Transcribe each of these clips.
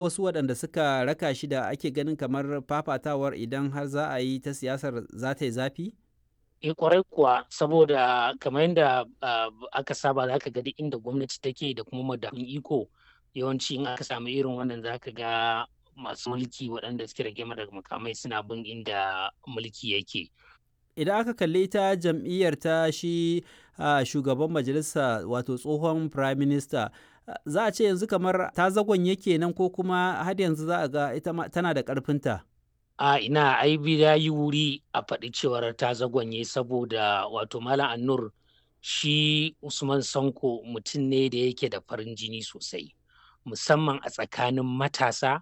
Wasu waɗanda suka raka shi da ake ganin kamar fafatawar idan har za a yi ta siyasar za ta yi zafi? Eh, kwarai kuwa, saboda kamar yadda aka saba, za ka ga duk inda gwamnati take da kuma madafun iko, yawanci in aka samu irin wannan za ka ga masu mulki waɗanda suke rike da makamai suna bin inda mulki yake. Idan aka kalli ita jam'iyyar ta shi shugaban majalisa, wato tsohon prime minister, za a ce yanzu kamar ta zagonye kenan, ko kuma har yanzu za a ga ita ma tana da ƙarfinta? A ina, ai ya yi wuri a faɗi cewar ta zagonye, saboda wato Malam Annur, shi Usman Sanko mutum ne da yake da farin jini sosai, musamman a tsakanin matasa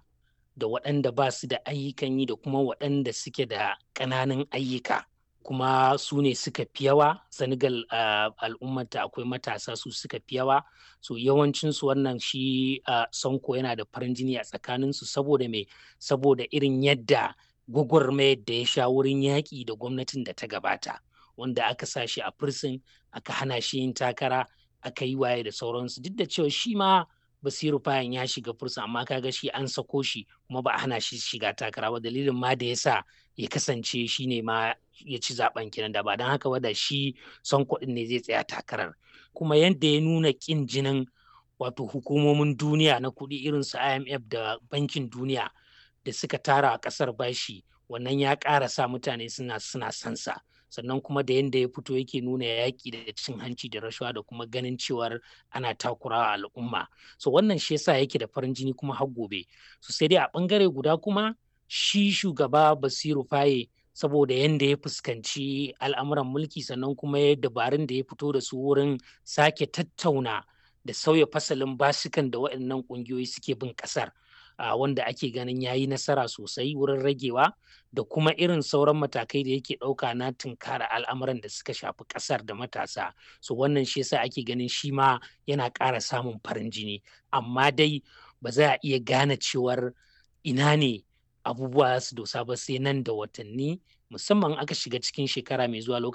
da waɗanda ba su da ayyukan yi da kuma waɗanda suke da ƙananan ayyuka. Kuma su ne suka fi yawa Senegal, al'ummata akwai matasa su suka fi yawa. So yawancinsu wannan shi Sonko yana da farin jini a tsakaninsu. Saboda me? Saboda irin yadda gwagwarmayar da ya sha wurin yaƙi da gwamnatin da ta gabata, wanda aka sa shi a prison, aka hana shi yin takara, aka yi waye da sauransu, duk da cewa shi ma Basiru Fayan ya shiga prison, amma kaga shi an sako shi kuma ba a hana shi shiga takara ba. Dalilin ma da ya sa ya kasance shi ne ma ya ci zaben kenan. Da ba don haka ba, da shi Sonko ɗin ne zai tsaya takarar. Kuma yadda ya nuna ƙin jinin wato hukumomin duniya na kuɗi irin su IMF da Bankin Duniya da suka tara a ƙasar bashi, wannan ya ƙara sa mutane suna son sa. Sannan kuma da yadda ya fito yake nuna yaƙi da cin hanci da rashawa da kuma ganin cewar ana takurawa al'umma, so wannan shi yasa yake da farin jini kuma har gobe. So sai dai a ɓangare guda kuma shi shugaba Basiru Faye, saboda yadda ya fuskanci al'amuran mulki, sannan kuma ya dabarun da ya fito da su wurin sake tattauna da sauya fasalin basukan da waɗannan ƙungiyoyi suke bin ƙasar, wanda ake ganin ya yi nasara sosai wurin ragewa, da kuma irin sauran matakai da yake ɗauka na tunkara al'amuran da suka shafi ƙasar da matasa, so wannan shi yasa ake ganin shi ma yana ƙara samun farin jini. Amma dai ba za a iya gane cewar ina ne abubuwa su dosa ba sai nan da watanni, musamman aka shiga cikin shekara mai zuwa.